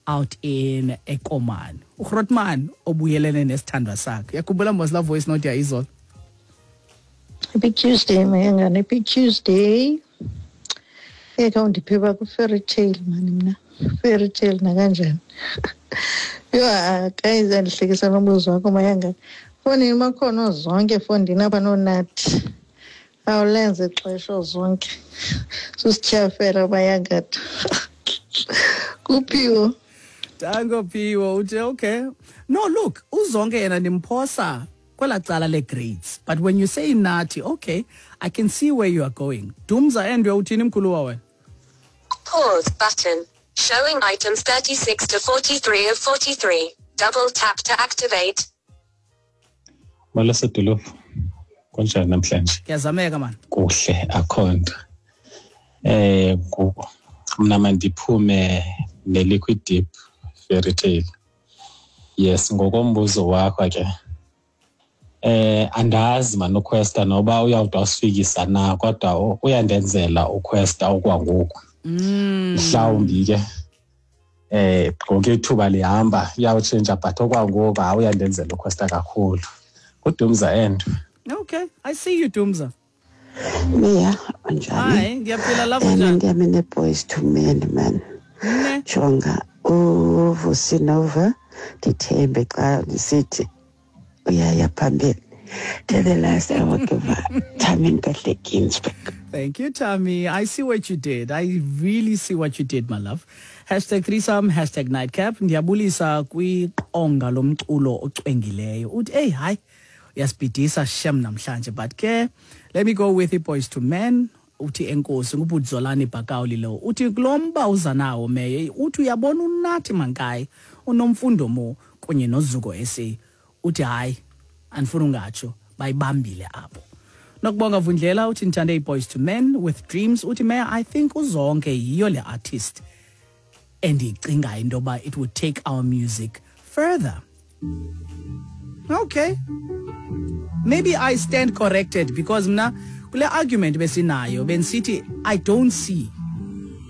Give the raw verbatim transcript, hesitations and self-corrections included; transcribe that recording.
out in eKomani. UGrotman obuyelene nesithandwa sakhe. Uyakhumbula mos la voice note ya izolo? Happy Tuesday, Mayangane. Happy Tuesday. Eka undiphe ku-fairy tale mani mna. Fairy tale nakanjani. Yho, guys, andihlekisa nombuzo wakho, Mayangane. Fondini bakhona zonke, fondini apha noonathi. Awulenze ixesha zonke. Susityhafela, Mayangatha. Kuphiwo. Danko Phiwo uthi okay. No, look, uZonke yena ndimphosa kwela cala le-grades. But when you say Nathi, okay, I can see where you are going. Dumza Endwe, uthini mkhuluwa wena? Pause button. Showing items thirty-six to forty-three of forty-three. Double tap to activate. Molo sedolophu, kunjani namhlanje? Kuyazameka man. Kuhle, akho nto. Eh mna mandiphume ne-Liquid Deep Fairy Tale. Yes, ngokombuzo wakho ke. Eh andazi man uQuesta noba uyawude wasifikisa na, kodwa uyandenzela uQuesta okwangoku. Mm. Mhlawumbi ke eh ngoku ithuba lihamba iyawutshintsha, but okwangoku hayi, uyandenzela uQuesta kakhulu. UDumza Endwe. Okay, I see you, Dumza. Mia, unjani? Hi, ngiyaphila lapho, Um, njani? Ndiyami ne-Boyz Two Men, man. Ne. Jonga uVusi Nova, ndithembe xa ndisithi uyaya phambili. To the last I will give Tammy Nkahle Ginsburg. Thank you, Tammy. I see what you did. I really see what you did, my love. Hashtag threesome, hashtag nightcap. Ndiyabulisa kwiqonga lomculo ocwengileyo. Uthi, hey, hayi, uyasibhidisa shem namhlanje. But ke, let me go with the Boyz Two Men. Uthi enkosi nguBudzolani Bhakawuli lo. Uthi kulo mba uza nawo meye, uthi uyabona uNathi Mankayi, uNomfundo Mo kunye noZuko S A. Uthi hayi, andifuni ungatsho, bayibambile apho. Nokubonga Vundlela uthi ndithande iBoyz Two Men with Dreams. Uthi Mayor, I think uZonke yiyo le artist endiyicingayo into yoba it would take our music further. Okay, maybe I stand corrected because mna kule argument besinayo bendisithi I don't see